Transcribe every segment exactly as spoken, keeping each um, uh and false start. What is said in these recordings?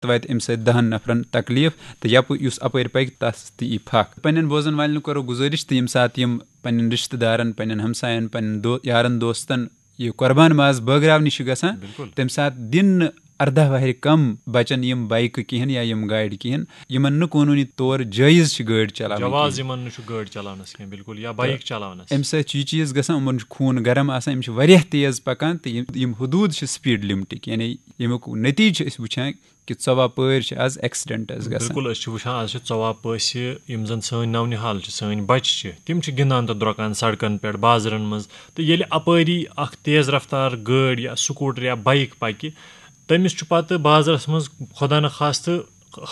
واتہِ اَمہِ سۭتۍ دَہَن نفرَن تکلیٖف، تہٕ یَپہٕ یُس اَپٲرۍ پَکہِ تَس تہِ یی پھَکھ۔ پنٛنٮ۪ن بوزَن والٮ۪ن کَرو گُزٲرِش تہٕ ییٚمہِ ساتہٕ یِم پنٛنٮ۪ن رِشتہٕ دارَن، پنٛنٮ۪ن ہمسایَن، پنٛنٮ۪ن دو یارَن دوستَن یہِ قۄربان ماز بٲگراونہِ چھِ گژھان، بِلکُل۔ تَمہِ ساتہٕ دِن نہٕ اَرداہ وَہرِ کَم بَچَن یِم بایکہٕ کِہیٖنۍ یا یِم گاڑِ کِہیٖنۍ، یِمَن نہٕ قونوٗنی طور جٲیِز چھِ گٲڑۍ چَلاوٕنۍ جواز کِہیٖنۍ۔ یِمَن نہٕ چھُ گٲڑۍ چَلاونَس کینٛہہ، بِلکُل، یا بایِک چَلاونَس۔ اَمہِ سۭتۍ چھُ یہِ چیٖز گژھان، یِمَن چھُ خوٗن گرم آسان، یِم چھِ واریاہ تیز پَکان، تہٕ یِم یِم حدوٗد چھِ سپیٖڈ لِمٹٕکۍ، یعنی ییٚمیُک نٔتیٖجہٕ چھِ أسۍ وٕچھان کہِ ژۄوُہ پٲرۍ چھِ آز ایکسیڈنٹس گژھان۔ بِلکُل، أسۍ چھِ وٕچھان، آز چھِ ژۄوُہ پٲسہِ یِم زَن سٲنۍ نَونِحال چھِ، سٲنۍ بَچہِ چھِ، تِم چھِ گِنٛدان تہٕ درٛۄکان سڑکَن پٮ۪ٹھ، بازرَن منٛز۔ تہٕ ییٚلہِ اَپٲری اَکھ تیز رفتار گٲڑۍ یا سکوٗٹر یا بایِک پَکہِ، تٔمِس چھُ پَتہٕ بازرَس منٛز خۄدا نخواستہٕ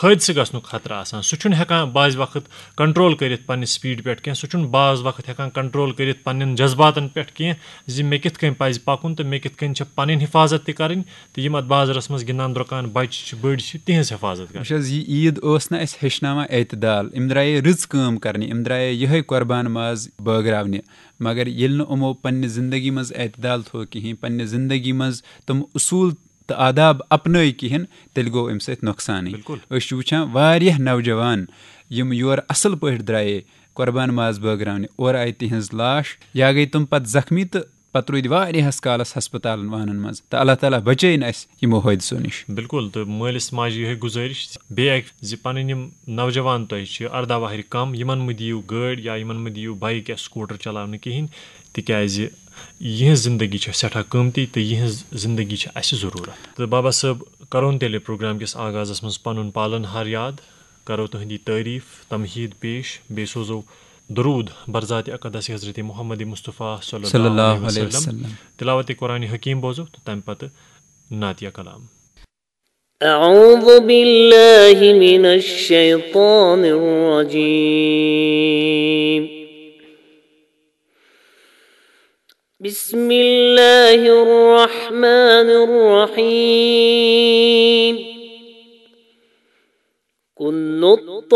حٲدثہٕ گژھنُک خطرٕ آسان۔ سُہ چھُنہٕ ہٮ۪کان بعض وقت کنٹرول کٔرِتھ پننہِ سپیڈ پٮ۪ٹھ کینٛہہ، سُہ چھُنہٕ بعض وقت ہٮ۪کان کنٹرول کٔرِتھ پننٮ۪ن جذباتن پٮ۪ٹھ کینٛہہ زِ مےٚ کِتھ کٔنۍ پزِ پکُن تہٕ مےٚ کِتھ کٔنۍ چھِ پنٕنۍ حفاظت تہِ کرٕنۍ، تہٕ یِم اتھ بازرس منٛز گِنٛدان درٛۄکان بچہِ چھِ، بٔڑۍ چھِ، تِہنٛز حفاظت کرٕنۍ۔ وٕچھ حظ، یہِ عیٖد اوس نہ اَسہِ ہیٚچھناوان اعتدال، یِم درٛایے رٕژ کٲم کرنہِ، یِم درٛایے یِہے قۄربان ماز بٲگراونہِ، مگر ییٚلہِ نہٕ یِمو پننہِ زندگی منٛز اعتدال تھوو کِہیٖنۍ، پننہِ زندگی منٛز تِم اصوٗل تہٕ آداب اپنٲے کِہیٖنۍ، تیٚلہِ گوٚو اَمہِ سۭتۍ نۄقصانٕے۔ بِلکُل۔ أسۍ چھِ وٕچھان واریاہ نوجوان یِم یورٕ اصل پٲٹھۍ درٛایے قۄربان ماز بٲگراونہِ، اورٕ آیہِ تِہنٛز لاش یا گٔے تِم پتہٕ زخمی تہٕ پتہٕ روٗدۍ واریاہس کالس ہسپتالن وانن منٛز، تہٕ اللہ تعالیٰ بچٲیِن اَسہِ یِمو حٲدثو نِش۔ بِلکُل، تہٕ مٲلِس ماجہِ یِہے گُزٲرِش بیٚیہِ اَکہِ زِ پنٕنۍ یِم نوجوان تۄہہِ چھِ ارداہ وہرِ کم، یِمن مہٕ دِیِو گٲڑۍ یا یِمن مہٕ دِیِو بایِک یا سکوٗٹر چلاونہٕ کِہیٖنۍ، تِکیازِ یِہنٛز زندگی چھےٚ سٮ۪ٹھاہ قۭمتی تہٕ یِہنٛز زندگی چھِ اَسہِ ضروٗرت۔ تہٕ بابا صٲب، کرون تیٚلہِ پروگرام کِس آغازس منٛز پنُن پالن ہار یاد، کرو تُہنٛدی تعریٖف، تمہیٖد پیش، بیٚیہِ سوزو درود برذات اقدس حضرت محمد مصطفیٰ صلی صلی اللہ اللہ علیہ علیہ وسلم۔ وسلم۔ تلاوت قرآن حکیم بوزو تہٕ تمہِ پتہٕ نعتیہ کلام۔ أعوذ بالله من الشيطان الرجيم. بسم الله الرحمن الرحيم. كل